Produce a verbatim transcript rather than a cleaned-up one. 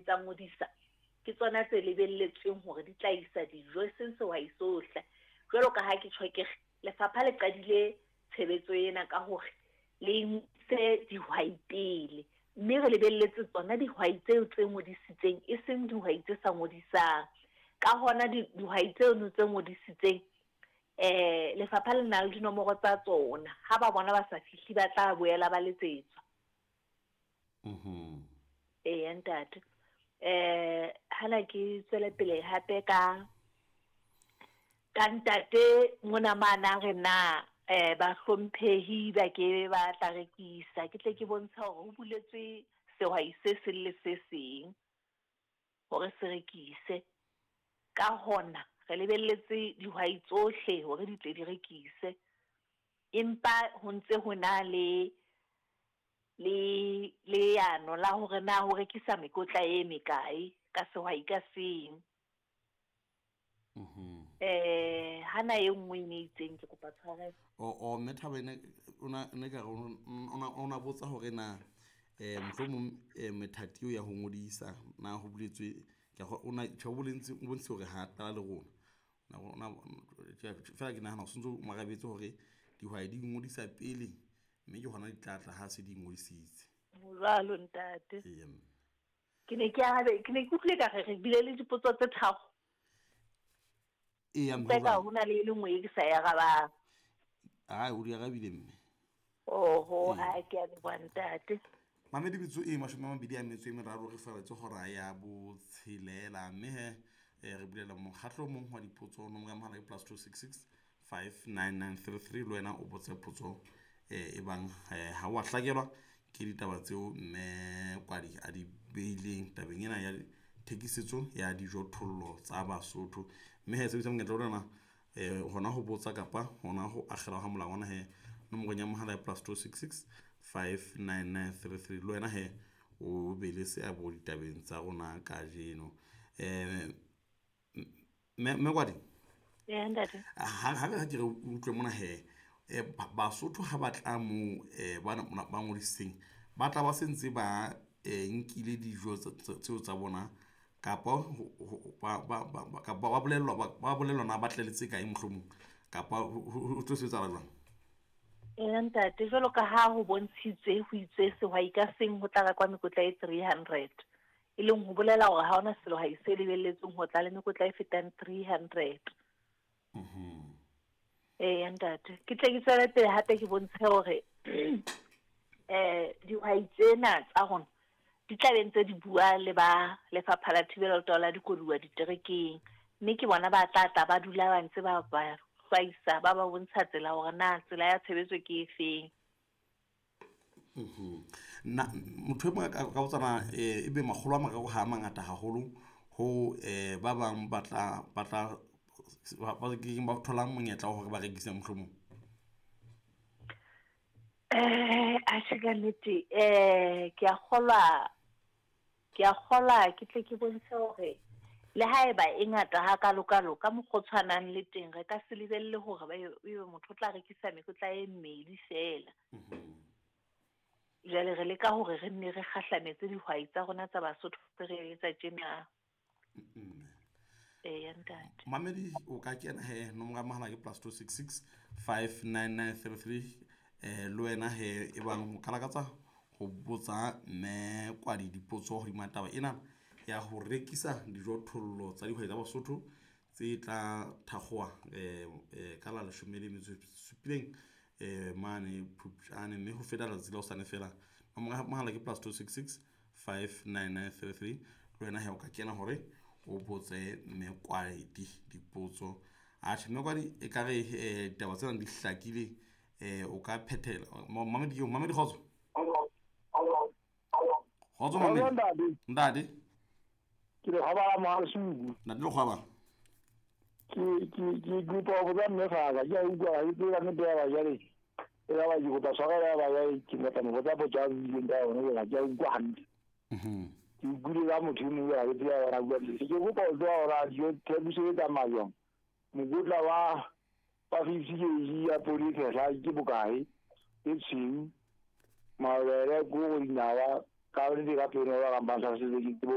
tsa ngodisa ke tsona tse lebelletsweng hore di tla isa dijo e seng sehwai sohle. Jwalo ka ha ke tjho ke re lefapha le qadile tshebetso ena ka hore le nse dihwai pele, mme re lebelletse tsona dihwai tseo tse ngodisitseng e seng dihwai tse sa ngodisang. Ka hona dihwai tseno tse ngodisitseng eh lefapha le na le dinomoro tsa tsona, ha ba bona ba sa fihle ba tla boela ba letsetswa. Mhm. Eya ntate. Eh hana ke tswele pele hape ka ka ntate mona mana re na eh ba hlomphehi ba ke ba tla rekisa, ke tle ke bontsha hore ho buletswe sehwai se seng le se seng hore se rekise. Ka hona re lebelletse dihwai tsohle hore di tle di rekise, empa ho ntse ho na le le leano la hore na ho rekisa mekotla e mekae ka sehwai ka seng. Mhm. Eh hana e nngwe e ne itseng ke kopa tshwarelo. O o mme Thabo ene ona ne ka re ona ona botsa hore na eh mohlomong eh methati eo ya ho ngodisa na ho buletswe ke go ona tjho bolentse o bontse hore ha qala le rona. Na ona fela ke nahana o sontso o marabetse hore dihwai di ngodisa pele mme ke hona di tla tla ha se di ngodisitse. Jwalo ntate. Ee, mme. Ke ne ke arabe ke ne ke utlwile ka re re bile le dipotso tse tharo. Eya, mme Ka jwang? ho na le e le nngwe e ke sa e arabang. Ai, o di arabile mme. Oho, Ee. ha ke a leboha ntate. Mamedi metso e mashome a mabedi a metso e meraro re faretse hora ya botshelela mme he eh, re bulela mokgatlo o mong wa dipotso nomoro ya mohala ke plus two six six five nine nine three three le wena o botse potso eh, e bang eh, ha wa hlakelwa ke ditaba tseo mme Kwadi a di beileng tabeng ena ya thekisetso ya dijothollo tsa Basotho. Mme he sebedisa monyetla ona eh hona ho botsa kapa hona ho akgela ha molangwana he nomorong ya mohala ya plus two six six five nine nine three three le wena he o be le seabo ditabeng tsa rona kajeno. Eh mme mme Kwadi Eya ntate. ha ha re ke re utlwe mona he eh, ba- Basotho ha ba tla moo eh, ba ba ngodisitseng ba tla ba se ntse ba eh, nkile dijo tse- tse- tseo tsa bona kapa ho- ho- ba ba ba ba- kapa ba bolellwa ba ba bolellwa na ba tleletse kae mohlomong kapa ho ho- ho tlo sebetsahala jwang? Eya ntate, jwalo ka ha ho bontshitswe ho itswe sehwai ka seng ho tla rekwa mekotla e three hundred. E leng ho bolela hore ha hona sehwai se lebelletsweng ho tla le mekotla e fetang three hundred. Eya ntate, ke tle ke tswele pele hape ke bontshe hore eh dihwai tsena tsa rona di tla be ntse di bua le ba lefapha la thibelo le taolo ya dikoduwa diterekeng, mme ke bona ba tla tla ba dula ba ntse ba ba hlwaisa ba ba bontsha tsela hore na tsela ya tshebetso ke efeng. Na motho e mong a ka ka botsa na eh, ebe makgolo a mararo ha a mangata haholo ho eh, ba bang ba tla ba tla ba ba kekeng ba thola monyetla wa hore ba rekise mohlomong. Eh atjhe ka nnete eh ke a kgolwa ke a kgolwa ke tle ke bontshe hore le haeba e ngata hakalokalo ka mokgwa o tshwanang le teng re ka se lebelle hore ba ebe motho o tla rekisa mekotla e mmedi feela. Jwale re leka hore re nne re kgahlametse dihwai tsa rona tsa Basotho re etsa tjena. Eya ntate. Mamedi o ka kena he nomoro ya mohala ke plus two six six five nine nine three three eh le wena he e bang o ka lakatsa ho botsa mme Kwadi dipotso hodima taba ena ya ho rekisa dijothollo tsa dihwai tsa Basotho tse tla thakgoha eh, eh, ka la leshome le metso e supileng eh, mane Phupjane mme ho feta letsatsi la hosane fela. Nomoro ya mohala ke plus two six six five nine nine three three le wena he o ka kena hore o botse mme Kwadi dipotso. Atjhe mme Kwadi e ka re eh, ditaba tsena di hlakile eh, o ka phethela. Mamedi mamedi kgotso. Kgotso mamedi. Ntate. Ntate. Ke le kgwaba Mohalesuku. Ntate le kgwaba. Ke ke ke kopa ho botsa mme Faka, ke a utlwa ha ke tsebe ka nnete ya ba jwale. E ka ba ke kopa tshwarelo ya ba jwale ke batla mo botsa potso a buileng ka yona jwale ha ke a utlwa hantle. Mhm. Ke utlwile ka motho e mong ha ke tsebe hore a bua nnete. Ke kopa ho tseba hore dijo thekiso e tsamaya jwang. Mokotla wa wa fifty kg ya poone e tshehla ke bokae? E tshweu, mabele, koro, dinawa, ka nnete ka pelo ba ka mpang tlhalosetsa ke tsebe